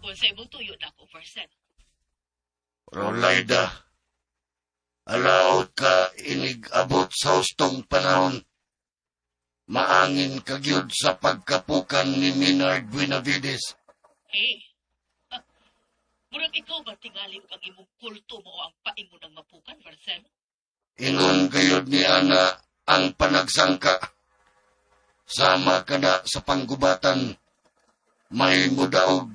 Kung sa imong tuyo nako, Marcelo. Rolaida, alaot ka inig abot sa hustong panahon. Maangin ka gyud sa pagkapukan ni Minard Buenavides. Hey, ah, murag ikaw ba tingali og ang imong kulto mao ang paingon ng mapukan, Marcelo? Ingon gayod ni Ana ang panagsangka. Sama kana sa panggubatan, may mudaog,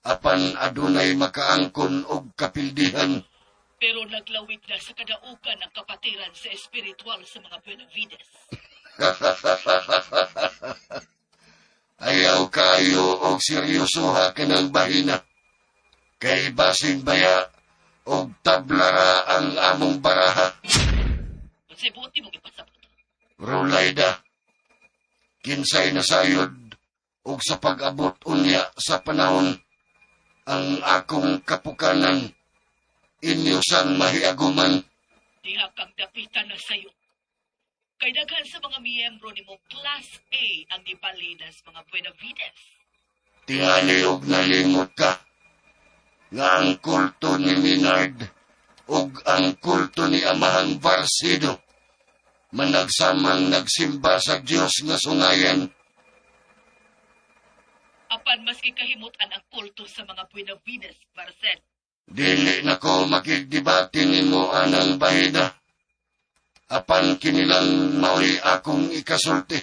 apan adunay makaangkon og kapildihan. Pero naglawig na sa kadaugan ang kapatiran sa espiritual sa mga Buenavides. Ayaw kayo og seryosoha kanang bahina. Kay basing baya og tablara ang among baraha. Unsay buot nimo ipasabot? Rulayda, kinsay nasayod og sa pag-abot unya sa panahon ang akong kapukanan inyo sang mahiaguman. Diha kang dapitan na sayo. Kay daghan sa mga miyembro nimo Class A ang gibalinas mga Buenavides. Tingali og nalimot ka nga ang kulto ni Minard ug ang kulto ni Amahang Barsido managsamang nagsimba sa Dios nga sungayan. Apan maski kahimutan ang kulto sa mga Buenavides, Marcel. Dili na ko makigdebate nimo anang bahida. Apan kinilang mao'y akong ikasulti.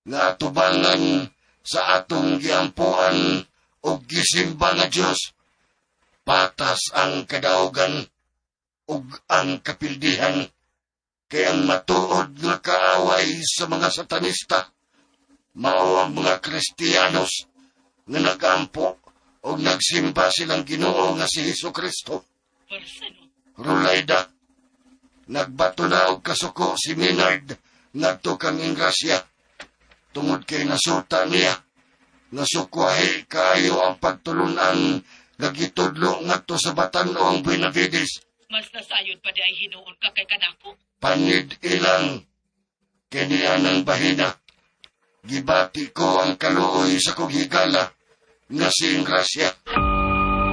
Nga atubangan sa atong giampuan og gisimba nga Dios. Patas ang kadaugan ug ang kapildihan kay ang matuod nga kaaway sa mga satanista mao ang mga Kristiyanos nga nagampo og nagsimba silang Ginoo nga si Hesus Kristo. Marcelo, Rulayda, nagbato na og kasuko si Minard ngadto kang Ingrasya tungod kay nasuta niya nga sukwahi kaayo ang pagtulunan nga gitudlo ngadto sa batan-o ang Buenavides. Mas nasayod pa di ay hinuon ka kay kanako. Panid ilang kini anang bahina. Gibati ko ang kaluoy sa kong higala nga si Ingrasya.